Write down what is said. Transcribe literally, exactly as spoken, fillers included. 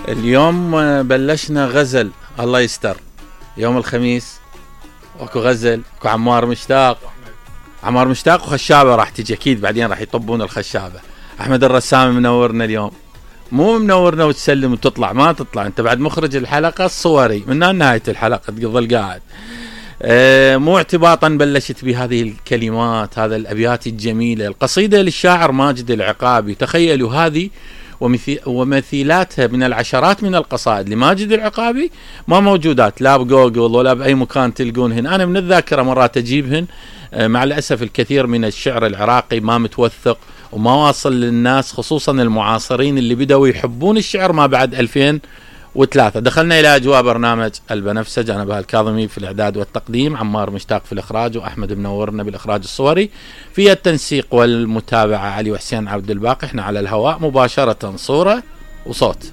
اليوم بلشنا غزل الله يستر. يوم الخميس اكو غزل، اكو عمار مشتاق، عمار مشتاق وخشابه راح تجي اكيد، بعدين راح يطبون الخشابه. احمد الرسام منورنا اليوم، مو منورنا وتسلم وتطلع، ما تطلع انت بعد مخرج الحلقه الصوري من نهايه الحلقه تظل قاعد. أه مو اعتباطا بلشت بهذه الكلمات، هذا الابيات الجميله، القصيده للشاعر ماجد العقابي. تخيلوا هذه ومثيلاتها من العشرات من القصائد لماجد العقابي ما موجودات لا بجوجل ولا باي مكان تلقونهن. انا من الذاكره مرات اجيبهن، مع الاسف الكثير من الشعر العراقي ما متوثق وما واصل للناس، خصوصا المعاصرين اللي بدأوا يحبون الشعر ما بعد ألفين وثلاثة. دخلنا الى اجواء برنامج البنفسج، انا بهاء الكاظمي في الاعداد والتقديم، عمار مشتاق في الاخراج، واحمد منورنا بالاخراج الصوري، في التنسيق والمتابعه علي وحسين عبد الباقي. احنا على الهواء مباشره صوره وصوت.